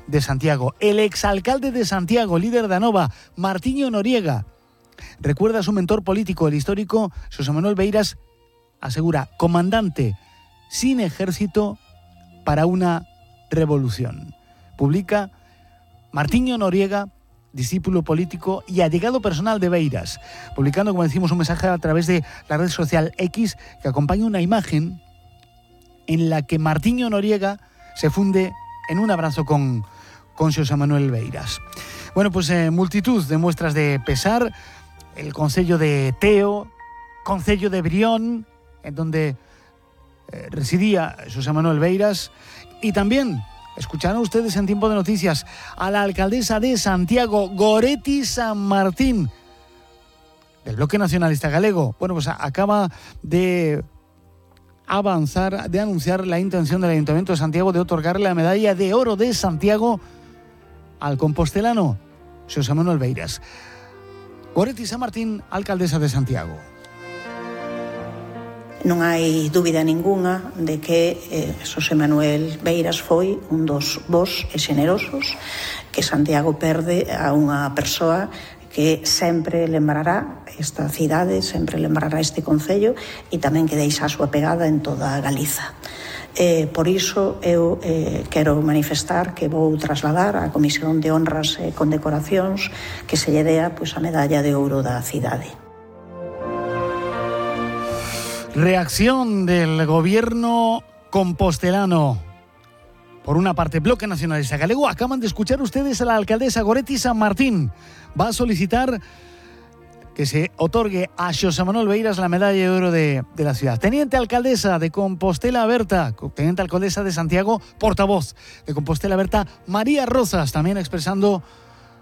de Santiago. El exalcalde de Santiago, líder de Anova, Martiño Noriega, recuerda a su mentor político, el histórico Xosé Manuel Beiras, asegura, comandante sin ejército para una revolución. Publica Martiño Noriega, discípulo político y allegado personal de Beiras, publicando, como decimos, un mensaje a través de la red social X que acompaña una imagen en la que Martiño Noriega se funde en un abrazo con Xosé Manuel Beiras. Bueno, pues multitud de muestras de pesar, el concello de Teo, concello de Brión, en donde residía Xosé Manuel Beiras, y también escucharán ustedes en Tiempo de Noticias a la alcaldesa de Santiago, Goretti San Martín, del Bloque Nacionalista Galego. Bueno, pues acaba de anunciar la intención del Ayuntamiento de Santiago de otorgarle la medalla de oro de Santiago al compostelano Xosé Manuel Beiras. Goretti San Martín, alcaldesa de Santiago. Non hai dúbida ningunha de que Xosé Manuel Beiras foi un dos bos e xenerosos que Santiago perde a unha persoa que sempre lembrará esta cidade, sempre lembrará este concello e tamén que deixa a súa pegada en toda Galiza. Por iso eu quero manifestar que vou trasladar á Comisión de Honras e Condecoracións que se lle dea a medalla de ouro da cidade. Reacción del gobierno compostelano. Por una parte, Bloque Nacionalista Galego. Acaban de escuchar ustedes a la alcaldesa Goretti San Martín. Va a solicitar que se otorgue a Xosé Manuel Beiras la medalla de oro de la ciudad. Teniente alcaldesa de Compostela Berta, teniente alcaldesa de Santiago, portavoz de Compostela Berta, María Rozas, también expresando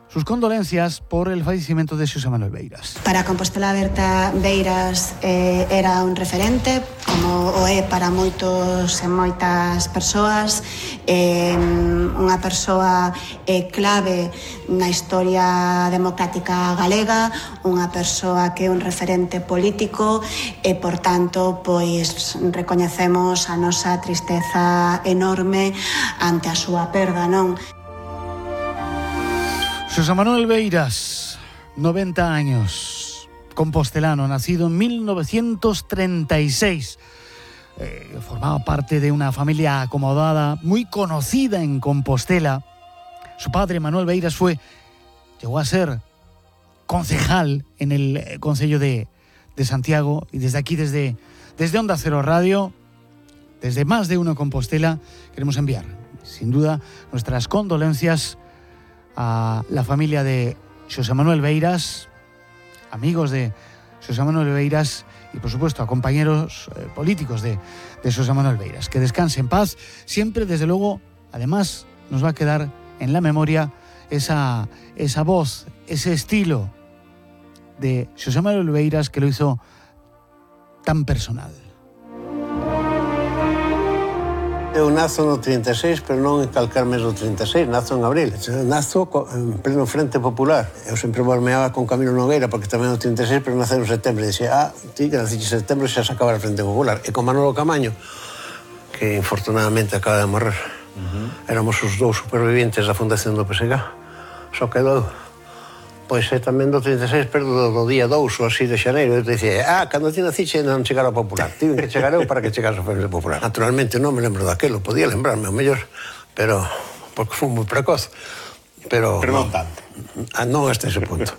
sus condolencias por el fallecimiento de Xosé Manuel Beiras. Para Compostela Berta, Beiras era un referente, como o é para moitos e moitas persoas, unha persoa clave na historia democrática galega, unha persoa que é un referente político e, por tanto, pois recoñecemos a nosa tristeza enorme ante a súa perda, non? Xosé Manuel Beiras, 90 años, compostelano, nacido en 1936. Formaba parte de una familia acomodada, muy conocida en Compostela. Su padre, Manuel Beiras, llegó a ser concejal en el concello de Santiago, y desde aquí, desde Onda Cero Radio, desde Más de Uno Compostela, queremos enviar, sin duda, nuestras condolencias a la familia de Xosé Manuel Beiras, amigos de Xosé Manuel Beiras y, por supuesto, a compañeros políticos de Xosé Manuel Beiras. Que descanse en paz. Siempre, desde luego, además, nos va a quedar en la memoria esa voz, ese estilo de Xosé Manuel Beiras que lo hizo tan personal. Eu nazo no 36, pero non en calcar mes do 36, nazo en abril. Nazo en pleno Frente Popular. Eu sempre volmeaba con Camilo Nogueira, porque tamén no 36, pero nace en setembro. E dixía, ti que naciste en setembro xa se acaba o Frente Popular. E con Manolo Camaño, que infortunadamente acaba de morrer. Éramos os dous supervivientes da fundación do PSG. Só quedou, pois tamén do 36, pero do día 2 ou así de xaneiro. Eu te dicía, cando ti nacixe non chegara ao Popular. Tiven que chegar eu para que chegase ao Frente Popular. Naturalmente non me lembro daquelo, podía lembrarme ao mellor, pero porque fui moi precoz. Pero non tanto. Non hasta ese punto.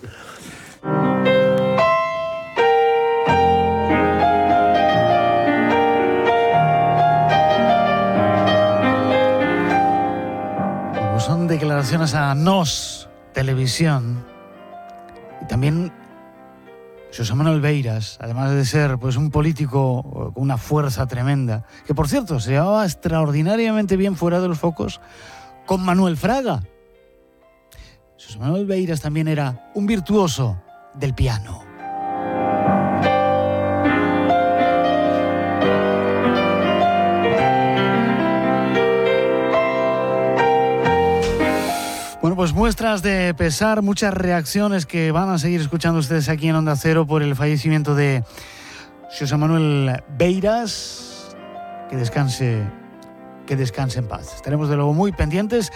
Son declaraciones a NOS Televisión. Y también Xosé Manuel Beiras, además de ser pues un político con una fuerza tremenda, que por cierto se llevaba extraordinariamente bien fuera de los focos con Manuel Fraga. Xosé Manuel Beiras también era un virtuoso del piano. Bueno, pues muestras de pesar, muchas reacciones que van a seguir escuchando ustedes aquí en Onda Cero por el fallecimiento de Xosé Manuel Beiras. Que descanse en paz. Estaremos de luego muy pendientes